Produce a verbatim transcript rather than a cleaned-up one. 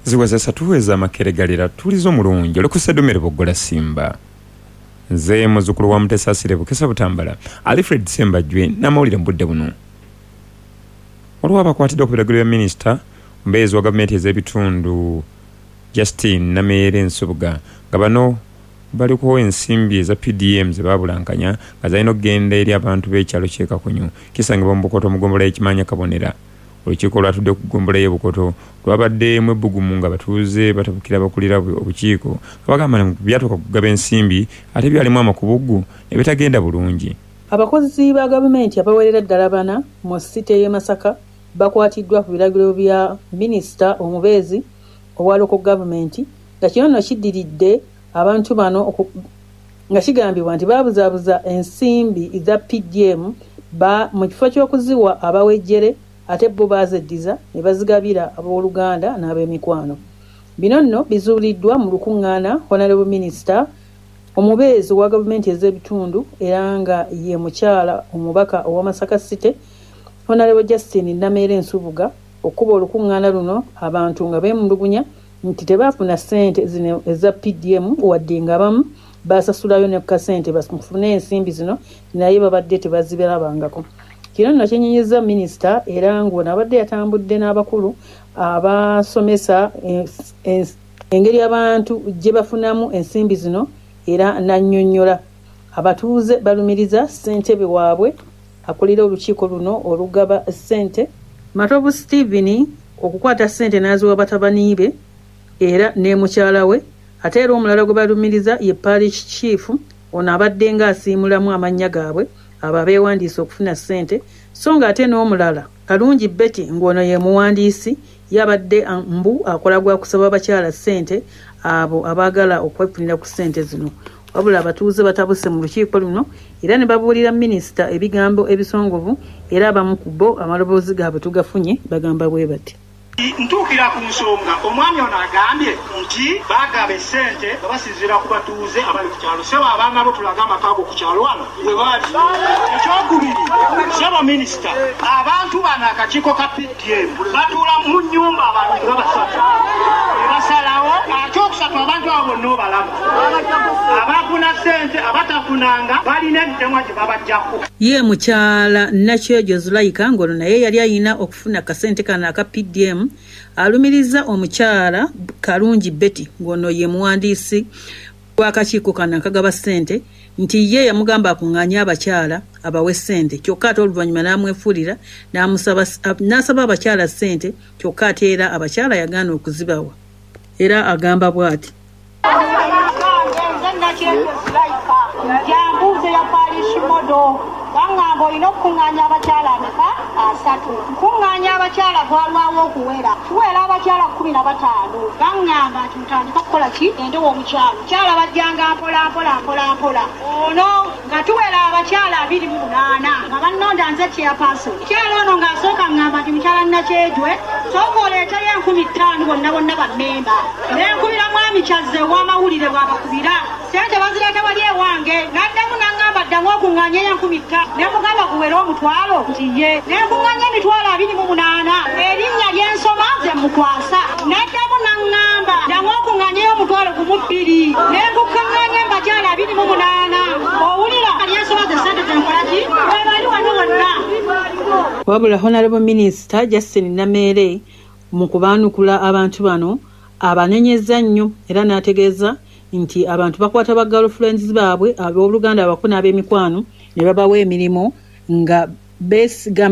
Ziweza satu ez'amakeregalira tulizo omulungi olikusedumire boggola simba. Nze muzzukulu wa Mutesaasire Bukesa Butambala Alfred Sembajwe n'amawulire mu budde buno. Waliwo abakwatiddwa ku biragiro bya minisita omubeezi wa gavumenti ez'ebitundu Justine Nameere Nsubuga, nga bano baliko ensimbi eza P D M ze baabulankanya nga zalina okugenda eri abantu b'ekyalo ky'e Kakunyu kisangibwa mu Bukoto mu ggombolola y'Ekimanya Kabonera. Olukiiko olwatudde ku ggombolola y'e Bukoto lwabaddemu ebbugumu nga batuuze batabukira abakulira obukiiko nga bagamba nti byatuuka kugaba ensimbi ate byalimu amakubuggu ne bitagenda bulungi. Abakozi ba gavumenti abawerera ddala bana mu site y'e Masaka bakwatiddwa ku biragiro bya minisita omubeezi owa local government, nga kino nno kiddiridde abantu bano nga kigambibwa nti baabuzaabuza ensimbi za P D M ba mu kifo ky'okuziwa abawejjere ate bo baazeddiza ne bazigabira abooluganda n'ab'emikwano. Bino nno bizuuliddwa mu lukuŋŋaana Honorable Minister omubeezi wa gavumenti ez'ebitundu era nga ye mukyala omubaka owa Masaka City Honorable Justine Nameere Nsubuga okuba olukuŋŋaana luno abantu nga beemulugunya nti tebaafuna ssente zino eza P D M wadde nga abamu baasasulayo ne ku kasente bafune ensimbi zino naye babadde tebazibirabangako. Kino nno kyenyinyizza minisita era ng'ono abadde yatambudde n'abakulu abasomesa engeri abantu gye bafunamu ensimbi zino era n'annyonnyola. Abatuuze balumiriza ssentebe waabwe akulira olukiiko luno olugaba ssente Matovu Stephen okukwata ssente n'aziwa batabani be era ne mukyala we, ate era omulala gwe balumiriza ye parish chief ono abadde ng'asiimulamu amannya gaabwe abo abeewandiisa okufuna ssente, so ng'ate n'omulala Kalungi Betty ng'ono ye muwandiisi yabadde mbu akola gwa kusaba abakyala ssente abo abaagala okwefunira ku ssente zino. Wabula abatuuze batabuse mu lukiiko luno era ne babuulira minisita ebigambo ebisongovu era abamu ku bo amaloboozi gaabwe tugafunye bagamba bwe bati. Ntuukira ku nsonga omwami ono agambye nti bagaba essente nga basinziira ku batuuze abali ku kyalo. Ssebo abaana bo tulaga amaka go ku kyalo wano we bali. Ekyokubiri, ssebo minisita, abantu bano akakiiko ka P D M batuula mu nnyumba abantu nga basatu ne basalawo. Ekyokusatu, abantu abo bonna obalaba abafuna ssente abatafunanga balina emitemwa gye babaggyako. Ye mukyala Nakyejo Zulaika ng'ono naye yali ayina okufuna akasente kano aka P D M alumiriza omukyala Kalungi Betty ng'ono ye muwandiisi w'akakiiko kano akagaba ssente nti ye yamugamba akuŋŋaanye abakyala abawe ssente, kyokka ate oluvannyuma n'amwefuulira n'asaba abakyala ssente, kyokka ate era abakyala yagaana okuzibawa. Era agamba bw'ati. Jambuze ya parish modo bangamba olina okukuŋŋaanya abakyala ameka asatu. Nkuŋŋaanya abakyala gwalwawo okuwera, tuwera abakyala kkumi na bataano. Baŋŋamba nti mutandika kukola ki endewo omukyalo. Mukyala bajjanga mpola mpola mpola mpola. Ono nga tuwera abakyala abiri mu munaana nga bannonda nze chairperson. Mukyala ono ng'asooka ŋŋamba nti mukyala Nakyejwe sooka oleeteyo enkumi ttaano bonna bonna bammemba. Ne nkubira mwami Kyazze ow'amawulire bw'abakubira ssente bazireeta wali ewange. N'addamu n'aŋŋamba ddamu okuŋŋaanyeyo enkumi ttaano. Ne mugamba guwere omutwalo nti ye. Ne nkuŋŋaanya emitwalo abiri mu munaana. Erinnya ly'ensoma ze mukwasa. N'addamu n'aŋŋamba ddamu okuŋŋaanyeyo omutwalo gumu bbiri. Ne nkuŋŋaanya abakyala abiri mu munaana. Owulira ly'ensoma ze ssente ze nkola ki? Bwe bali wano bonna. Wabula Honorable Minister Justine Nameere mu kubaanukula abantu bano abanenyezza nnyo era n'ategeeza nti abantu bakwata ba girlfriends baabwe abooluganda abako n'ab'emikwano ne babawa emirimu nga beesigamye